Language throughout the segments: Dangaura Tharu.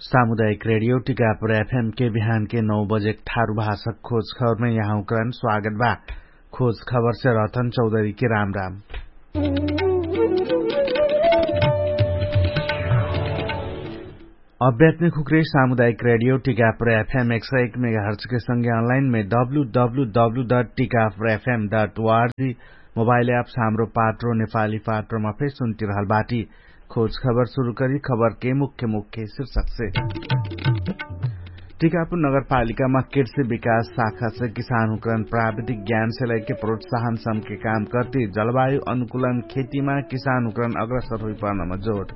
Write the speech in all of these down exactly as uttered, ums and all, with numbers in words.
सामुदायिक रेडियो टिकापुर एफएम के बिहान के नौ बजे ठारु भाषक खोज खबरमे यहाँ उक्रान स्वागत बा। खोज खबरसे रहतन चौधरी के राम राम। अभ्यात्मिक हुक्रे सामुदायिक रेडियो टिकापुर एफएम एक सय एक मेगाहर्च के संगे अनलाइन मे W W W dot Tikapur FM dot ORG mobile apps Hamro Patro नेपाली पात्रोमा फेर सुन्तिरहल बाटी। खोज खबर सुरु करी खबर के मुख्य मुख्य शीर्षक से। टिकापुर नगरपालिकामा कृषि विकास शाखा से किसानहुँकरन प्राविधिक ज्ञान से लैके प्रोत्साहन सम के काम करती जलवायु अनुकूलन खेतीमा किसानहुँकरन अग्रसर हुइपर्नमा जोड।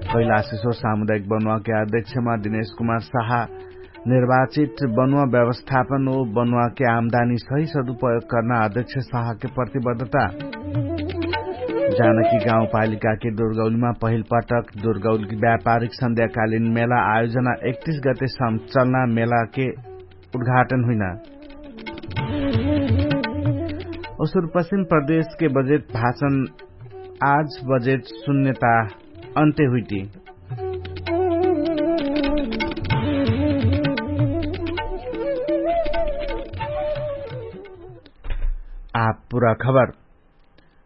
कैलाशेश्वर सामुदायिक बनुवा के अध्यक्षमा दिनेश कुमार साहा निर्वाचित बनुवा व्यवस्थापन ओ बनुवा के आमदानी सही सदुपयोग कर्ना अध्यक्ष साहा के प्रतिबद्धता। जानकी गाउँपालिका के दुर्गौलीमा पहिल पटक दुर्गौली व्यापारिक सन्ध्याकालिन मेला आयोजना एकतिस गते सम्चलना मेला के उद्घाटन हुइना। ओसुर पश्चिम प्रदेश के बजेट भाषण आज बजेट सुन्यता अन्त्य हुइटी। आप पुरा खबर।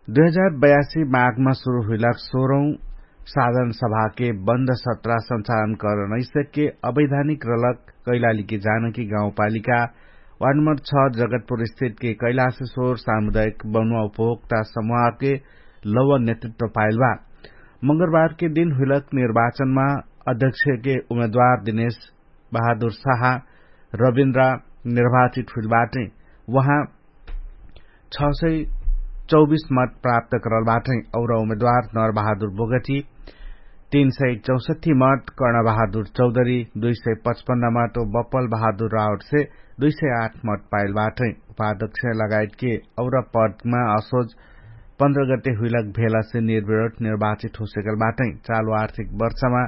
दुई हजार बयासी माघमा सुरु हुइलक सोह्रौँ साधन सभाके बन्द सत्रा सञ्चालन करनैसके अवैधानिक रलक कैलालीके जानकी गाउँपालिका वार्ड नम्बर छ जगतपुर स्थितके कैलाशेश्वर सामुदायिक बनुवा उपभोक्ता समूहके लौवा नेतृत्व पाइल बा। मङ्गलबारके दिन हुइलक निर्वाचनमा अध्यक्षके उम्मेदवार दिनेश बहादुर साहा रविन्द्रा निर्वाचित हुइल बाटै। उहाँ छ सय चौबिस मत प्राप्त करल बाटै। और उम्मेदवार नर बहादुर बोगटी तीन सय चौसठी मत, कर्ण बहादुर चौधरी दुई सय पचपन्न मत ओ बप्पल बहादुर रावटसे दुई सय आठ मत पाइल बाटै। उपाध्यक्ष लगायतके और पदमा असोज पन्ध्र गते हुइलक भेलासे निर्विरोध निर्वाचित होसेकल बाटै। चालु आर्थिक वर्षमा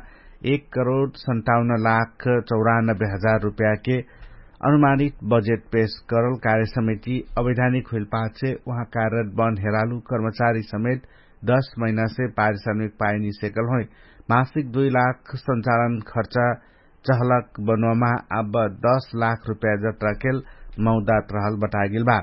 एक करोड सन्ताउन्न लाख चौरानब्बे हजार रुपयाके अनुमानित बजेट पेश करल कार्यसमिति अवैधानिक हुइल पाछे उहाँ कार्यरत बन हेरालु कर्मचारी समेत दश महिनासे पारिश्रमिक पाइनी सेकल होइ। मासिक दुई लाख सञ्चालन खर्चा चहलक बनोमा अब दश लाख रुपया जत्रा केल मौदात रहल बतागेल बा।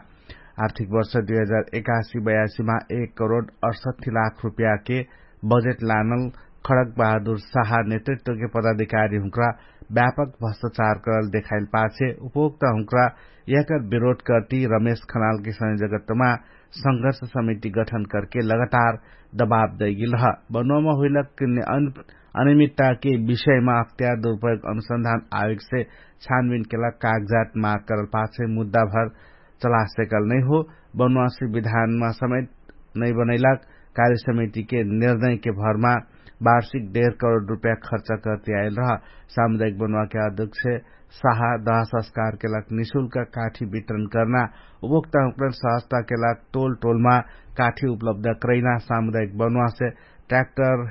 आर्थिक वर्ष दुई हजार एकासी बयासीमा एक करोड अठसट्ठी लाख रुपयाके बजेट लानल खडक बहादुर साहा नेतृत्वके पदाधिकारी हुँक्रा व्यापक भ्रष्टाचार करल देखाइल पाछे उपभोक्ता हुँक्रा यहकर विरोध करती रमेश खनालके संयोजकत्वमा संघर्ष समिति गठन करके लगातार दबाब दैगेल रह। बनोमा हुइलक अनियमित्ताके विषयमा अख्तियार दुरुपयोग अनुसन्धान आयोगसे छानबिनके लाग कागजात माग करल पाछे मुद्दाभर चलासेकल नैहो। बनुवासी विधानमा समेत नैबनैलाग कार्यसमितिके निर्णयके भरमा वार्षिक डेढ करोड रुपया खर्च करती आइल रह। सामुदायिक बनुवाके अध्यक्ष साहा दहसंस्कारके लाग निशुल्क काठी वितरण कर्ना उपभोक्ता हुँकरन सहजताके लाग टोल टोलमा काठी उपलब्ध करैना सामुदायिक बनुवासे ट्र्याक्टर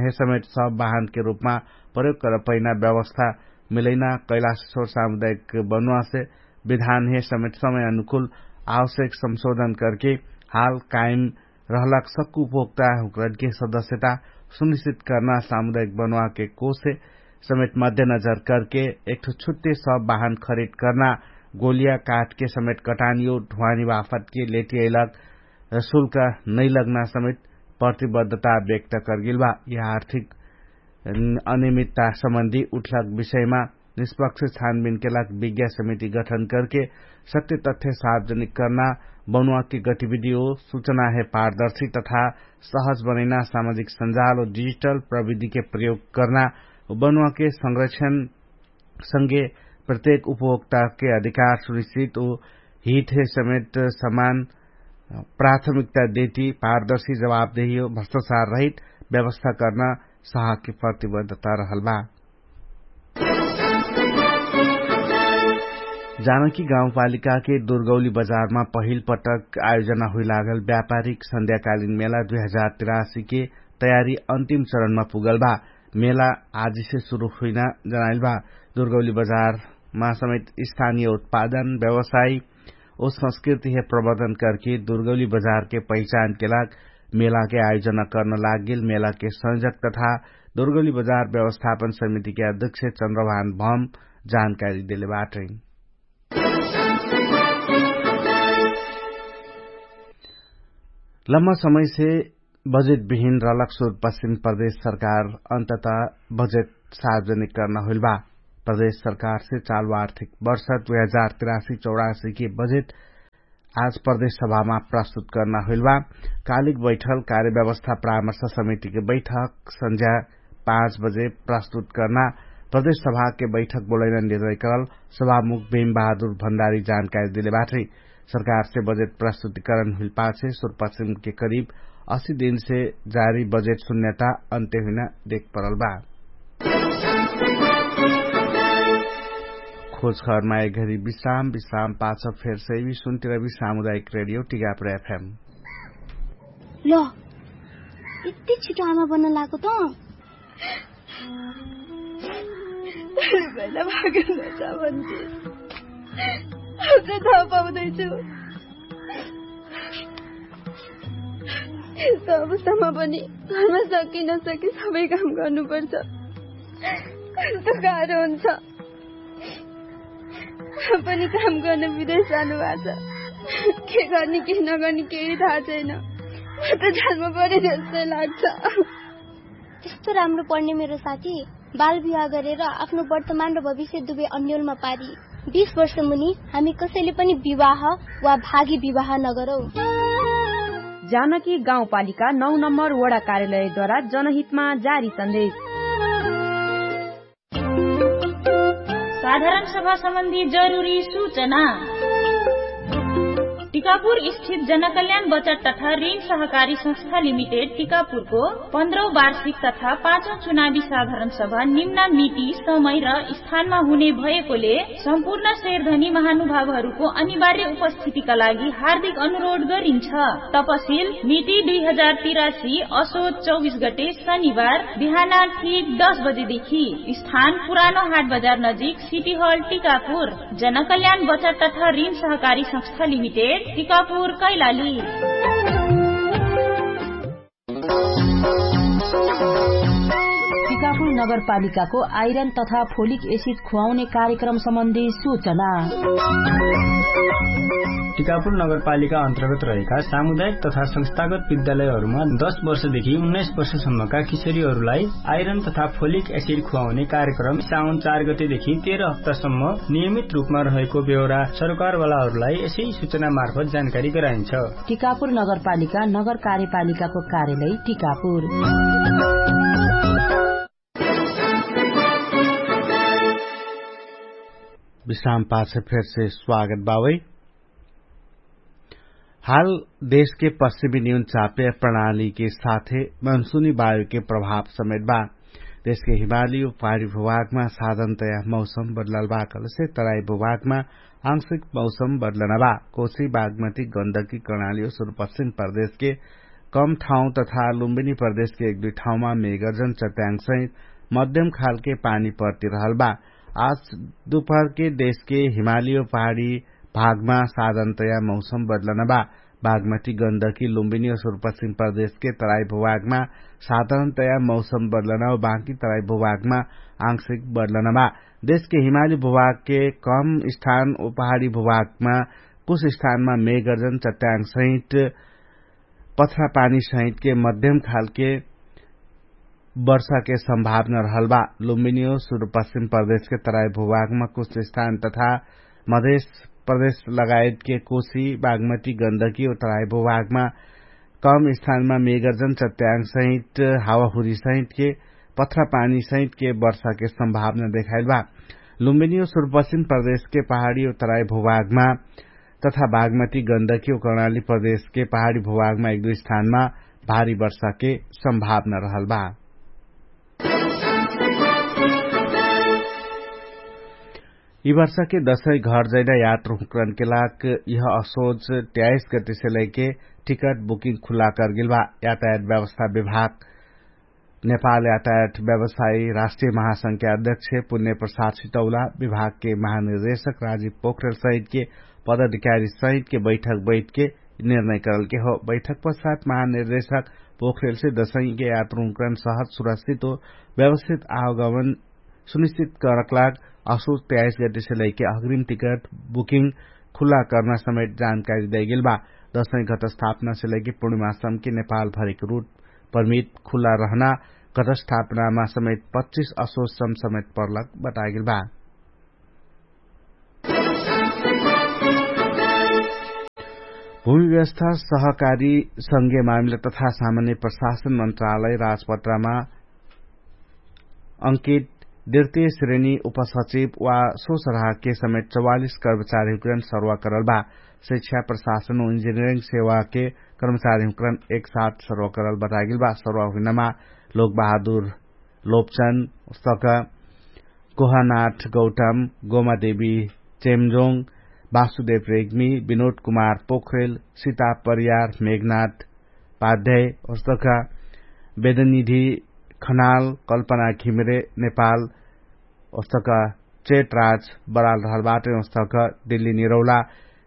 हे समेत सब वाहनके रुपमा प्रयोग करपैना व्यवस्था मिलैना कैलाशेश्वर सामुदायिक बनुवासे विधान हे समेत समय अनुकूल आवश्यक संशोधन करके हाल कायम रहलक सक्कु उपभोक्ता हुँकरनके सदस्यता सुनिश्चित कर्ना सामुदायिक बनुवाके कोसे समेत मध्यनजर करके एकठो छुट्टे सब वाहन खरिद कर्ना गोलिया काठके समेत कटानियो ढुवानी वाफतके लेटियैलक शुल्क नैलग्ना समेत प्रतिबद्धता व्यक्त करगेल बा। यह आर्थिक अनियमित्ता सम्बन्धी उठलक विषयमा निष्पक्ष छानबिनके लाग विज्ञा समिति गठन करके सत्य तथ्य सार्वजनिक कर्ना बनुवाके गतिविधि हो सुचना हे पारदर्शी तथा सहज बनैना सामाजिक सञ्जाल हो डिजिटल प्रविधिके प्रयोग कर्ना बनुवाके संरक्षण संगे प्रत्येक उपभोक्ताके अधिकार सुनिश्चित हो हित हे समेत समान प्राथमिकता देती पारदर्शी जवाबदेही हो भ्रष्टाचार रहित व्यवस्था कर्ना साहके प्रतिबद्धता रहल बा। जानकी गाउँपालिकाके दुर्गौली बजारमा पहिल पटक आयोजना हुइलागल व्यापारिक सन्ध्याकालिन मेला दुई हजार तिरासीके तयारी अन्तिम चरणमा पुगल बा। मेला आजिसे सुरु हुइना जनाइल बा। दुर्गौली बजारमा समेत स्थानीय उत्पादन व्यवसाय ओ संस्कृति हे प्रबन्धन करके दुर्गौली बजारके पहिचानके लाग मेलाके आयोजना कर्न लागेल मेलाके संयोजक तथा दुर्गली बजार व्यवस्थापन समितिके अध्यक्ष चन्द्रभान भम जानकारी देले बाटै। लम्मा समयसे बजेट बिहिन रलक सुर पश्चिम प्रदेश सरकार अन्तत बजेट सार्वजनिक कर्न होइल बा। प्रदेश सरकारसे चालु आर्थिक वर्ष दुई हजार तिरासी चौरासी के बजेट आज प्रदेश सभामा प्रस्तुत कर्ना होइल बा। कालिक बैठल कार्यव्यवस्था परामर्श समितिके बैठक सन्झ्या पाँच बजे प्रस्तुत कर्ना प्रदेश सभाके बैठक बोलैना निर्णय करल सभामुख भीम बहादुर भण्डारी जानकारी देले बाटै। सरकारसे बजेट प्रस्तुतिकरण हुइल पाछे सुरपश्चिमके करिब अस्सी दिनसे जारी बजेट सुन्यता अन्त्य हुइना देख परल बा। खोज खबरमा एक घरी विश्राम विश्राम पाछ फेर सैवी सुन्तिरवी सामुदायिक रेडियो टिगापुर एफएम। ल यति छिटो आमा बन्न लागो त। पहिला भागेन छ भन्थे। अब चाहिँ थाहा पाउँदैछु यस्तो अवस्थामा पनि घरमा सके नसके सबै काम गर्नुपर्छ। कस्तो गाह्रो हुन्छ। पनि काम गर्न विदेश जानुभएको छ। के गर्ने के नगर्ने केही थाहा छैन। म त जान्नु पर्यो जस्तै लाग्छ। त्यस्तो राम्रो पढ्ने मेरो साथी बाल विवाह गरेर आफ्नो वर्तमान र भविष्य दुवै अन्यलमा पारी। बिस वर्ष मुनि हामी कसैले पनि विवाह वा भागी विवाह नगरौँ। जानकी गाउँपालिका नौ नम्बर वडा कार्यालयद्वारा जनहितमा जारी सन्देश। साधारण सभा सम्बन्धी जरुरी सूचना। टिकापुर स्थित जनकल्याण बचत तथा ऋण सहकारी संस्था लिमिटेड टिकापुरको पन्ध्रौं वार्षिक तथा पाँचौं चुनावी साधारण सभा निम्न मिति समय र स्थानमा हुने भएकोले सम्पूर्ण शेरधनी महानुभावहरूको अनिवार्य उपस्थितिका लागि हार्दिक अनुरोध गरिन्छ। तपसिल मिति दुई हजार तिरासी असोज चौबिस गते शनिबार बिहान ठीक दस बजेदेखि। स्थान पुरानो हाट बजार नजिक सिटी हल टिकापुर। जनकल्याण बचत तथा ऋण सहकारी संस्था लिमिटेड टिकापुर कैलाली। टिकापुर नगरपालिकाको आइरन तथा फोलिक एसिड खुवाउने कार्यक्रम सम्बन्धी सूचना। टिकापुर नगरपालिका अन्तर्गत रहेका सामुदायिक तथा संस्थागत विद्यालयहरूमा दस वर्षदेखि उन्नाइस वर्षसम्मका किशोरीहरूलाई आइरन तथा फोलिक एसिड खुवाउने कार्यक्रम साउन चार गतेदेखि तेह्र हप्तासम्म नियमित रूपमा रहेको बेहोरा सरकारवालाहरूलाई यसै सूचना मार्फत जानकारी गराइन्छ। टिकापुर नगरपालिका नगर कार्यपालिकाको कार्यालय टिकापुर। विश्राम पाछ फेरसे स्वागत बावै। हाल देशके पश्चिमी नियन चापे प्रणालीके साथे मनसुनी वायुके प्रभाव समेत बा। देशके हिमाली उ पारी भुभागमा साधनतया मौसम बदलाल बा कलसे तराई भुभागमा आंशिक मौसम बदलना बा। कोशी बागमती गन्दकी कर्णाली उ सुरुपश्चिम प्रदेशके कम ठाउँ तथा लुम्बिनी प्रदेशके एक दुई ठाउँमा मेगर्जन चट्याङसहित मध्यम खालके पानी पर्ति रहल बा। आज दुपहरके देशके हिमाली उ पहाडी भागमा साधनतया मौसम बदलना बा। बागमती गन्दकी लुम्बिनी उ सुरुपश्चिम प्रदेशके तराई भुभागमा साधनतया मौसम बदलना उ बाँकी तराई भुभागमा आंशिक बदलना बा। देशके हिमाली भुभागके कम स्थान उ पहाडी भुभागमा कुछ स्थानमा मेगर्जन चट्याङसहित पथरा पानीसहितके मध्यम खालके वर्षाके सम्भावना रहल बा। लुम्बिनी उ सुरुपश्चिम प्रदेशके तराई भुभागमा कुछ स्थान तथा मधेश प्रदेश लगायतके कोशी बागमती गन्दकी उ तराई भुभागमा कम स्थानमा मेगर्जन चट्याङसहित हावाहुरीसहितके पथरा पानीसहितके वर्षाके सम्भावना देखाइल बा। लुम्बिनी उ सुरुपश्चिम प्रदेशके पहाडी उ तराई भुभागमा तथा बागमती गन्दकी उ कर्णाली प्रदेशके पहाडी भुभागमा एक दुई स्थानमा भारी वर्षाके सम्भावना रहल बा। यि वर्षाके दशै घर जैना यात्र हुँकरनके लाग यह असोज त्याइस गतिसे लैके टिकट बुकिङ खुल्ला करगेल बा। यातायात व्यवस्था विभाग नेपाल यातायात व्यवसायी राष्ट्रिय महासंख्या अध्यक्ष पुण्य प्रसाद सितौला विभागके महानिर्देशक राजीव पोखरेल सहितके पदाधिकारी सहितके बैठक बैठके निर्णय करलके हो। बैठक पश्चात महानिर्देशक पोखरेलसे दशैंके यात्रुंकरण सहज सुरक्षित हो व्यवस्थित आवगमन सुनिश्चित करकलाग असोच त्याइस गतिसे लैके अग्रिम टिकट बुकिङ खुल्ला कर्ना समेत जानकारी दैगेल बा। दशैं घटस्थापनासे लैके पूर्णिमाश्रमके नेपाल भरिक रुट परमिट खुल्ला रहना घटस्थापनामा समेत पच्चिस असोच सम समेत पर्लक बतागेल बा। भूमि व्यवस्था सहकारी संघीय मामिला तथा सामान्य प्रशासन मन्त्रालय राजपत्रामा अंकित द्वितीय श्रेणी उपसचिव वा सोसराहके समेत चौवालिस कर्मचारी हुकरण सर्वा करल बा। शिक्षा प्रशासन वा इन्जिनियरिङ सेवाके कर्मचारी हुकरण एक साथ सर्वा करल बतागेल बा। सर्वा हुइनामा लोक बहादुर लोपचन, उस्तक गोहनाथ गौतम, गोमादेवी चेमजोङ, वासुदेव रेग्मी, विनोद कुमार पोखरेल, सीता परियार, मेघनाथ पाध्याय, उस्तक वेदनिधि खनाल, कल्पना घिमिरे नेपाल, उस्तक चेतराज बराल रहल बाटे। उस्तक दिल्ली निरौला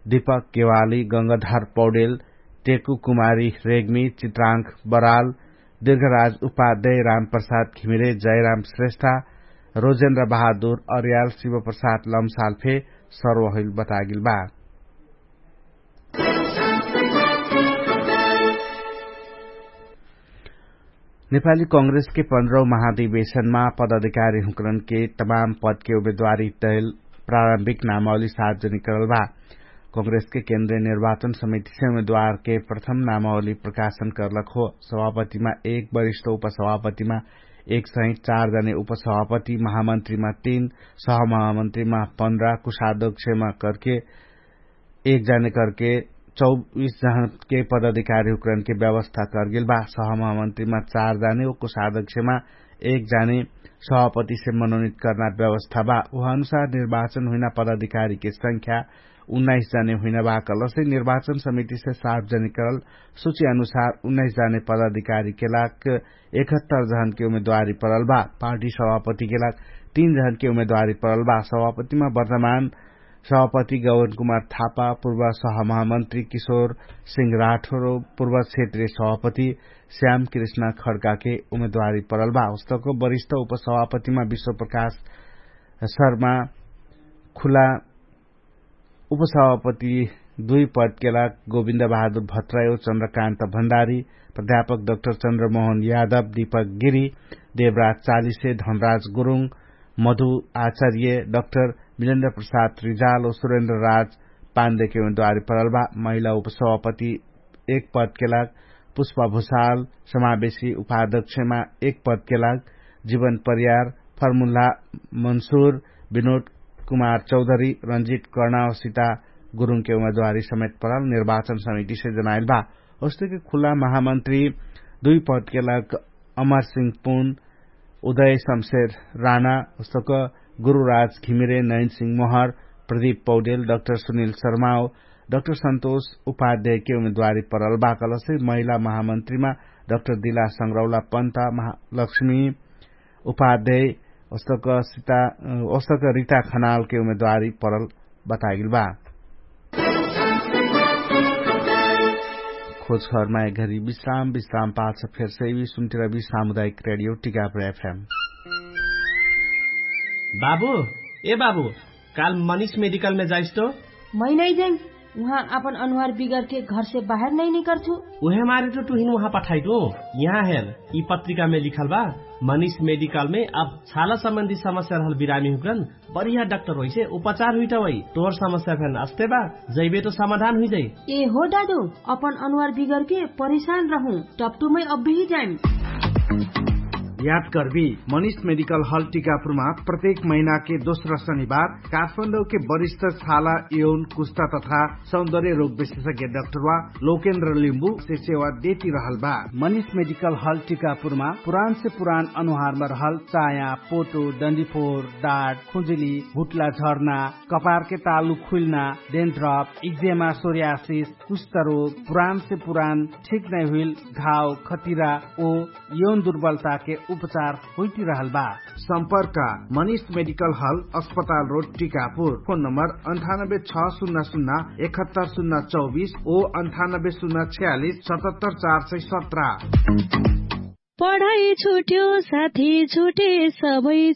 दीपक केवाली, गंगाधर पौडेल, टेकु कुमारी रेग्मी, चित्राङ्क बराल, दीर्घराज उपाध्याय, रामप्रसाद घिमिरे, जयराम श्रेष्ठा, रोजेन्द्र बहादुर अर्याल, शिवप्रसाद लम्साल फे सर्वहुइल बतागेल बा। नेपाली कांग्रेसके पन्ध्रौ महाधिवेशनमा पदाधिकारी हुँकरनके तमाम पदके उम्मेदवारी तैल प्रारम्भिक नामावली सार्वजनिक करल बा। कांग्रेसके केन्द्रीय निर्वाचन समितिसे उम्मेदवारके प्रथम नामावली प्रकाशन करलक हो। सभापतिमा एक वरिष्ठ उपसभापतिमा एक सहित चार जने उपसभापति, महामन्त्रीमा तीन, सहमहामन्त्रीमा पन्ध्र, कुशादोक्षमा करके एक जाने करके चौबीस जहनके पदाधिकारी हुकरनके व्यवस्था करगेल बा। सहमहामन्त्रीमा चार जाने वा कुशादोक्षमा एक जाने सभापतिसे मनोनित करना व्यवस्था बा। उहाँ अनुसार निर्वाचन हुइना पदाधिकारीके संख्या उन्नाइस जाने हुइना बा। कलसे निर्वाचन समितिसे सार्वजनिक करल सुची अनुसार उन्नाइस जाने पदाधिकारीके लाग एकहत्तर जहनके उम्मेदवारी परल बा। पार्टी सभापतिके लाग तीन जहनके उम्मेदवारी परल बा। सभापतिमा वर्तमान सभापति गौवन कुमार थापा, पूर्व सहमहामन्त्री किशोर सिंह राठोर, पूर्व क्षेत्रीय सभापति श्याम कृष्ण खड्काके उम्मेदवारी परल बा। उस्तक वरिष्ठ उपसभापतिमा विश्वप्रकाश शर्मा खुला, उपसभापति दुई पदके लाग गोविन्द बहादुर भट्रायो, चन्द्रकान्त भण्डारी, प्राध्यापक डाक्टर चन्द्रमोहन यादव, दीपक गिरी, देवराज चालिसे, धनराज गुरुङ, मधु आचार्य, डाक्टर मिलेन्द्र प्रसाद रिजाल वा सुरेन्द्र राज पान्देके उम्मेदवारी परल बा। महिला उपसभापति एक पदके लाग पुष्पा भुसाल, समावेशी उपाध्यक्षमा एक पदके लाग जीवन परियार, फर्मुल्ला मन्सुर, विनोद कुमार चौधरी, रन्जित कर्णावसिता गुरुङके उम्मेदवारी समेत परल निर्वाचन समितिसे जनाइल बा। उस्तके खुला महामन्त्री दुई पदके लाग अमरसिंह पुन, उदय शमशेर राणा, उस्तक गुरुराज घिमिरे, नयनसिंह महर, प्रदीप पौडेल, डाक्टर सुनिल शर्माओ, डाक्टर सन्तोष उपाध्यायके उम्मेदवारी परल बा। कलसे महिला महामन्त्रीमा डाक्टर दिला संग्रौला पन्त, महालक्ष्मी उपाध्याय, ओस्तक रिता खनालके उम्मेदवारी परल बतागेल बा। खोजखबरमा एक घरी विश्राम विश्राम पाछ फेर सैवी सुन्तिरबी सामुदायिक रेडियो टिकापुर एफएम। बाबु, ए बाबु, काल मनिष मेडिकलमे जाइस तो? मै नै जाइम। उहाँ आपन अनुहार बिगरके घरसे बाहेर नै निकर्छु। उहे मारे तो तुहिन उहाँ पठाइटु। यहाँ हेर, यि पत्रिकामे लिखल बा, मनिष मेडिकलमे अब छाला सम्बन्धी समस्या रहल बिरामी हुकरन बढिया डाक्टर होइसे उपचार हुइटवै। तोर समस्या फेन अस्ते बा, जैबे तो समाधान हुइजै। ए हो दादु, अपन अनुहार बिगरके परेशान रहु, टप्टुमै अब्बेही जाइम। याद कर्बी, मनिष मेडिकल हल टिकापुरमा प्रत्येक महिनाके दोस्रा शनिबार काठमाडौके वरिष्ठ छाला यौन कुष्टा तथा सौन्दर्य रोग विशेषज्ञ डाक्टरवा लोकेन्द्र लिम्बुसे सेवा देति रहल बा। मनिष मेडिकल हल टिकापुरमा पुरानसे पुरान अनुहारमा रहल चाया, पोटो, डन्डीफोर, डाट, खुजुली, भुट्ला झर्ना, कपारके तालु खुइल्ना, डेन्ड्रप, इक्जेमा, सोर्यासिस, कुष्ट रोग, पुरानसे पुरान ठिक नै हुइल घाव, खतिरा ओ यौन दुर्बलताके उपचार होइटिरहल बा। सम्पर्क मनिष मेडिकल हल, अस्पताल रोड टिकापुर। फोन नम्बर अन्ठानब्बे छ सुन्ना सुन्ना एकहत्तर सुन्ना चौबिस ओ अन्ठानब्बे सुन्ना छ्यालिस सतहत्तर चार सय सत्र। पढाइ छुट्यो साथी छुटे सबै